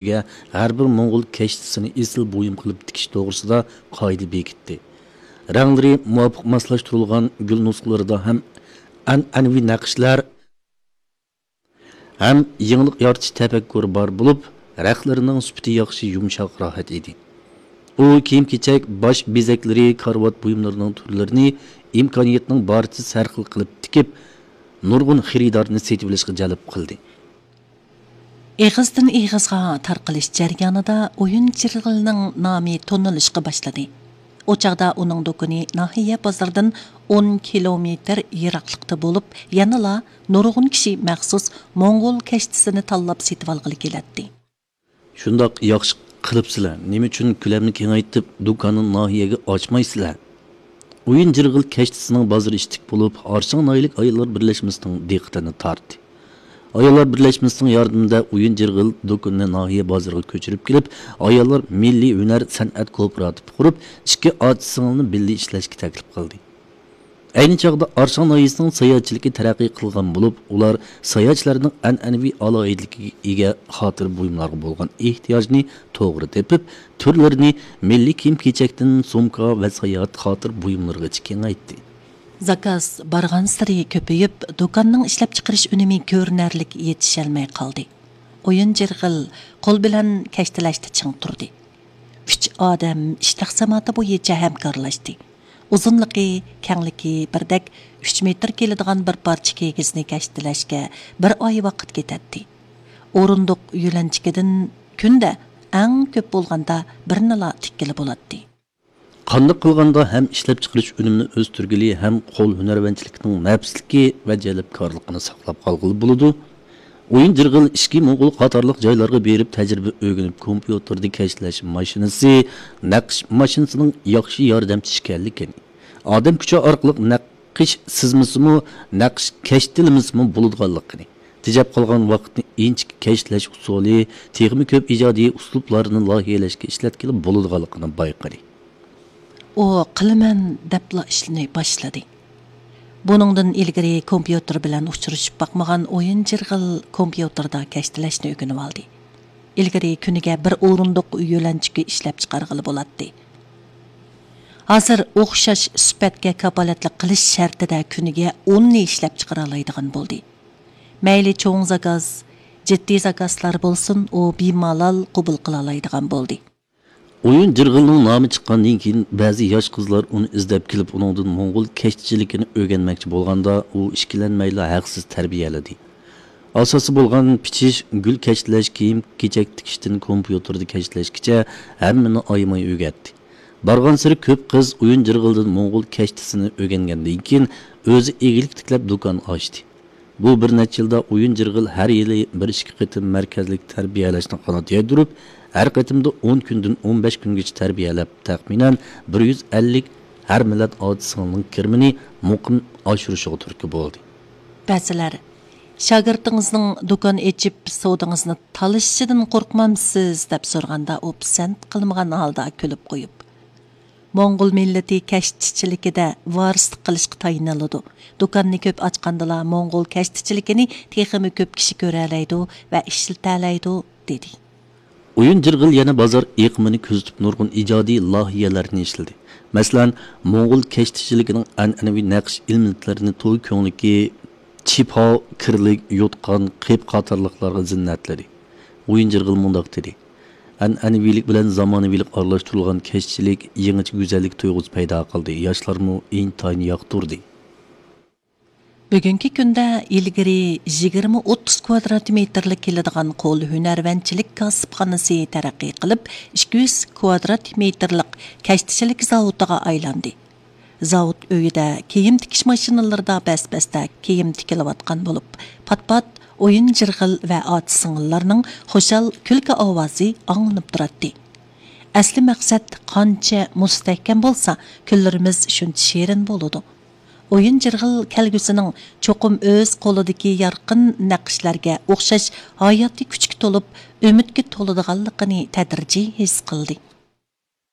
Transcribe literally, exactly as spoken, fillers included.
ئۈستىگە ھەر بىر موڭغۇل كەشتىسىنى ئېسىل بۇيۇم قىلىپ تىكىش توغرىسىدا قائىدە بېكىتتى. رەڭلىرى مۇۋاپىق ماسلاشتۇرۇلغان گۈل نۇسخىلىرىدا ھەم ئەنئەنىۋى نەقىشلەر ھەم يېڭىلىق يارىتىش تەپەككۇرى بار بولۇپ، رەختلىرىنىڭ سۈپىتى ياخشى، يۇمشاق، راھەت ئىدى. ئۇ كىيىم-كېچەك، باش بېزەكلىرى، كارىۋات بۇيۇملىرىنىڭ تۈرلىرىنى ئىمكانىيەتنىڭ بارىچە ھەر خىل قىلىپ تىكىپ، نۇرغۇن خېرىدارنى سېتىۋېلىشقا جەلپ قىلدى. ئېغىزدىن ئېغىزغا تارقىلىش جەريانىدا ئويۇن جىرغىلنىڭ نامى تونۇلۇشقا باشلىدى. ئۇ چاغدا ئۇنىڭ دۇكىنى ناھىيە بازىرىدىن ئون كىلومېتىر يىراقلىقتا بولۇپ، يەنىلا نۇرغۇن كىشى مەخسۇس موڭغۇل كەشتىسىنى تاللاپ سېتىۋالغىلى كېلەتتى. شۇنداق ياخشى قىلىپسىلەر، نېمە ئۈچۈن كۆلەمنى كېڭەيتىپ، دۇكاننى ناھىيەگە ئاچمايسىلەر؟ ئويۇن جىرغىل كەشتىسىنىڭ بازىرى ئىشتىك بولۇپ، ئارشاڭ ناھىيەلىك ئاياللار بىرلەشمىسىنىڭ دىققىتىنى تارتتى. ئاياللار بىرلەشمىسىنىڭ ياردىمىدە ئويۇن جىرغىل دۇكىنىنى ناھىيە بازىرىغا كۆچۈرۈپ كېلىپ، ئاياللار مىللىي ھۈنەر سەنئەت كوپىراتىپى قۇرۇپ، ئىككى ئاچا-سىڭىلنى بىللە ئىشلەشكە تەكلىپ قىلدى. ئەينى چاغدا ئارشاڭ ناھىيەسىنىڭ ساياھەتچىلىكى تەرەققىي قىلغان بولۇپ، ئۇلار ساياھەتچىلەرنىڭ ئەنئەنىۋى ئالاھىدىلىكىگە ئىگە خاتىرە بۇيۇملارغا بولغان ئېھتىياجنى توغرا تېپىپ، تۈرلىرىنى مىللىي كىيىم-كېچەكتىن سومكا ۋە ساياھەت خاتىرە بۇيۇملىرىغىچە كېڭەيتتى. زاكاز بارغانسېرى كۆپىيىپ، دۇكاننىڭ ئىشلەپچىقىرىش ئۈنۈمى كۆرۈنەرلىك يېتىشەلمەي قالدى. ئويۇن جىرغىل قول بىلەن كەشتىلەشتە چىڭ تۇردى. ئۈچ ئادەم ئىش تەقسىماتى بويىچە ھەمكارلاشتى. ئۇزۇنلۇقى، كەڭلىكى بىردەك ئۈچ مېتىر كېلىدىغان بىر پارچە كىگىزنى كەشتىلەشكە بىر ئاي ۋاقىت كېتەتتى. ئورۇندۇق يۆلەنچۈكىدىن كۈندە ئەڭ كۆپ بولغاندا بىرنىلا تىككىلى بولاتتى. قانداق قىلغاندا ھەم ئىشلەپچىقىرىش ئۈنۈمىنى ئۆستۈرگىلى، ھەم قول ھۈنەرۋەنچىلىكىنىڭ نەپىسلىكى ۋە جەلپكارلىقىنى ساقلاپ قالغىلى بولىدۇ؟ ئويۇن جىرغىل ئىچكى موڭغۇل قاتارلىق جايلارغا بېرىپ تەجرىبە ئۆگىنىپ، كومپيۇتېردا كەشتىلەش ماشىنىسى، نەقىش ماشىنىسىنىڭ ياخشى ياردەمچى ئىكەنلىكىنى، ئادەم كۈچى ئارقىلىق نەقىش سىزمىسىمۇ، نەقىش كەشتىلىمىسىمۇ بولىدىغانلىقىنى، تېجەپ قالغان ۋاقىتنى ئىنچىكە كەشتىلەش ئۇسۇلى، تېخىمۇ كۆپ ئىجادىي ئۇسلۇبلارنى لايىھەلەشكە ئىشلەتكىلى بولىدىغانلىقىنى بايقىدى. ئۇ قىلىمەن دەپلا ئىشنى باشلىدى. بۇنىڭدىن ئىلگىرى كومپيۇتېر بىلەن ئۇچرىشىپ باقمىغان ئويۇن جىرغىل كومپيۇتېردا كەشتىلەشنى ئۆگىنىۋالدى. ئىلگىرى كۈنىگە بىر ئورۇندۇق يۆلەنچۈكى ئىشلەپچىقارغىلى بولاتتى. ھازىر ئوخشاش سۈپەتكە كاپالەتلىك قىلىش شەرتىدە كۈنىگە ئوننى ئىشلەپچىقىرالايدىغان بولدى. مەيلى چوڭ زاكاز، جىددىي زاكازلار بولسۇن، ئۇ بىمالال قوبۇل قىلالايدىغان بولدى. ئويۇن جىرغىلنىڭ نامى چىققاندىن كېيىن، بەزى ياش قىزلار ئۇنى ئىزدەپ كېلىپ، ئۇنىڭدىن موڭغۇل كەشتىچىلىكىنى ئۆگەنمەكچى بولغاندا، ئۇ ئىككىلەنمەيلا ھەقسىز تەربىيەلىدى. ئاساسى بولغان پىچىش، گۈل كەشتىلەش، كىيىم-كېچەك تىكىشتىن كومپيۇتېردا كەشتىلەشكىچە ھەممىنى ئايىماي ئۆگەتتى. بارغانسېرى كۆپ قىز ئويۇن جىرغىلدىن موڭغۇل كەشتىسىنى ئۆگەنگەندىن كېيىن، ئۆزى ئىگىلىك تىكلەپ دۇكان ئاچتى. بۇ بىر نەچچە يىلدا ئويۇن جىرغىل ھەر يىلى بىر ئىككى قېتىم مەركەزلىك تەربىيەلەشنى قانات يايدۇرۇپ، ھەر قېتىمدا ئون كۈندىن ئون بەش كۈنگىچە تەربىيەلەپ، تەخمىنەن بىر يۈز ئەللىك ھەر مىللەت ئاچا-سىڭىلنىڭ كىرىمىنى مۇقىم ئاشۇرۇشىغا تۈرتكە بولدى. بەزىلەر، «شاگىرتىڭىزنىڭ دۇكان ئېچىپ، سودىڭىزنى تالىشىشىدىن قورقمامسىز؟» دەپ سورىغاندا، ئۇ پىسەنت قىلمىغان ھالدا كۈلۈپ قويۇپ، «موڭغۇل مىللىتى كەشتىچىلىكىدە ۋارىسلىق قىلىشقا تايىنىلىدۇ. دۇكاننى كۆپ ئاچقاندىلا، موڭغۇل كەشتىچىلىكىنى تېخىمۇ كۆپ كىشى كۆرەلەيدۇ ۋە ئىشلىتەلەيدۇ» دېدى. ئويۇن جىرغىل يەنە بازار ئېقىمىنى كۆزىتىپ، نۇرغۇن ئىجادىي لايىھەلەرنى ئىشلىدى. مەسىلەن، موڭغۇل كەشتىچىلىكىنىڭ ئەنئەنىۋى نەقىش ئېلېمېنتلىرىنى توي كۆڭلىكى، چىپاۋ، كىرلىك، يوتقان، قېپى قاتارلىقلارغا زىننەتلىدى. ئويۇن جىرغىل مۇنداق دېدى: «ئەنئەنىۋىلىك بىلەن زامانىۋىلىق ئارىلاشتۇرۇلغان كەشتىچىلىك يېڭىچە گۈزەللىك تۇيغۇسى پەيدا قىلدى، ياشلارمۇ ئىنتايىن ياقتۇردى.» بۈگۈنكى كۈندە ئىلگىرى يىگىرمە ئوتتۇز كۋادرات مېتىرلىك كېلىدىغان قول ھۈنەرۋەنچىلىك كاسىپخانىسى تەرەققىي قىلىپ، ئىككى يۈز كۋادرات مېتىرلىق كەشتىچىلىك زاۋۇتىغا ئايلاندى. زاۋۇت ئۆيىدە كىيىم تىكىش ماشىنىلىرىدا بەس-بەستە كىيىم تىكىلىۋاتقان بولۇپ، پات-پات ئويۇن جىرغىل ۋە ئاچا-سىڭىللارنىڭ خۇشال كۈلكە ئاۋازى ئاڭلىنىپ تۇراتتى. ئەسلى مەقسەت قانچە مۇستەھكەم بولسا، كۈنلىرىمىز شۇنچە شېرىن بولىدۇ. ئويۇن جىرغىل كەلگۈسىنىڭ چوقۇم ئۆز قولىدىكى يارقىن نەقىشلەرگە ئوخشاش ھاياتىي كۈچكە تولۇپ، ئۈمىدكە تولىدىغانلىقىنى تەدرىجىي ھېس قىلدى.